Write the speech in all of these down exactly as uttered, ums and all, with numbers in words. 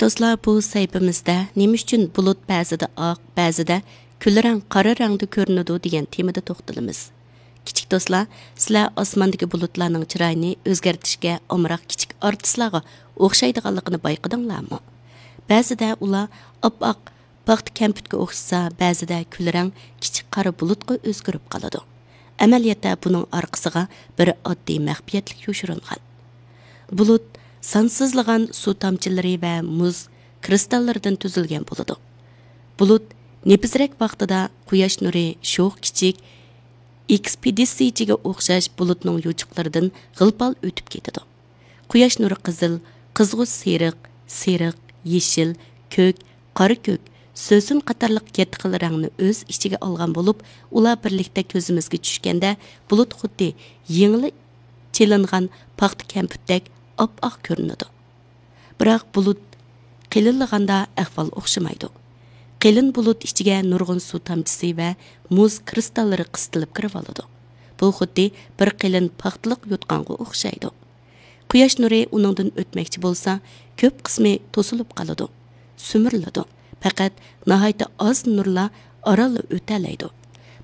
دوستلار، بۇ سەھىپىمىزدە نېمە ئۈچۈن بۇلۇت بەزىدە ئاق، بەزىدە كۈلرەڭ، قارا رەڭدە كۆرۈنىدۇ دېگەن تېمىدا توختىلىمىز. كىچىك دوستلار، سىلەر ئاسماندىكى بۇلۇتلارنىڭ چىرايىنى ئۆزگەرتىشكە ئامراق كىچىك ئارتىسلارغا ئوخشايدىغانلىقىنى بايقىدىڭلارمۇ؟ بەزىدە ئۇلار ئاپئاق پاختا كەمپۈتكە ئوخشىسا، بەزىدە كۈلرەڭ كىچىك قارا بۇلۇتقا ئۆزگىرىپ قالىدۇ. ئەمەلىيەتتە بۇنىڭ ئارقىسىغا بىر ئاددىي مەخپىيەتلىك يوشۇرۇنغان. بۇلۇت سانسىزلىغان سۇ تامچىلىرى ۋە مۇز كىرىستاللىرىدىن تۈزۈلگەن بولىدۇ. بۇلۇت نېپىزرەك ۋاقتىدا قۇياش نۇرى شوخ كىچىك ئېكسپېدىتسىيىچىگە ئوخشاش بۇلۇتنىڭ يوچۇقلىرىدىن غىل-پال ئۆتۈپ كېتىدۇ. قۇياش نۇرى قىزىل، قىزغۇچ سېرىق، سېرىق، يېشىل، كۆك، قارا كۆك، سۆسۈن قاتارلىق يەتتە خىل رەڭنى ئۆز ئىچىگە ئالغان بولۇپ، ئۇلار بىرلىكتە كۆزىمىزگە چۈشكەندە، بۇلۇت خۇددى يېڭىلا چېلىنغان پاختا كەمپۈتتەك ئاپئاق كۆرۈنىدۇ. بىراق بۇلۇت قېلىنلىغاندا ئەھۋال ئوخشىمايدۇ. قېلىن بۇلۇت ئىچىگە نۇرغۇن سۇ تامچىسى ۋە مۇز كىرىستاللىرى قىستىلىپ كىرىۋالىدۇ. بۇ خۇددى بىر قېلىن پاختىلىق يوتقانغا ئوخشايدۇ. قۇياش نۇرى ئۇنىڭدىن ئۆتمەكچى بولسا، كۆپ قىسمى توسۇلۇپ قالىدۇ، سۈمۈرۈلىدۇ. پەقەت ناھايىتى ئاز نۇرلا ئارانلا ئۆتەلەيدۇ.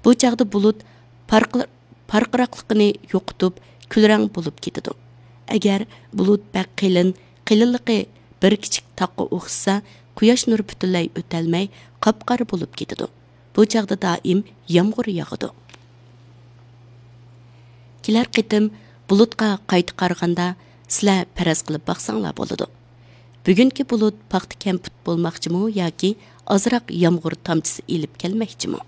بۇ چاغدا بۇلۇت پارقىر-، پارقىراقلىقىنى يوقىتىپ، كۈلرەڭ بولۇپ كېتىدۇ. ئەگەر بۇلۇت بەك قېلىن، قېلىنلىقى بىر كىچىك تاغقا ئوخشىسا، قۇياش نۇرى پۈتۈنلەي ئۆتەلمەي، قاپقارا بولۇپ كېتىدۇ. بۇ چاغدا دائىم يامغۇر ياغىدۇ. كېلەر قېتىم بۇلۇتقا قايتا قارىغاندا، سىلەر پەرەز قىلىپ باقساڭلار بولىدۇ. بۈگۈنكى بۇلۇت پاختا كەمپۈت بولماقچىمۇ ياكى ئازراق يامغۇر تامچىسى ئېلىپ كەلمەكچىمۇ؟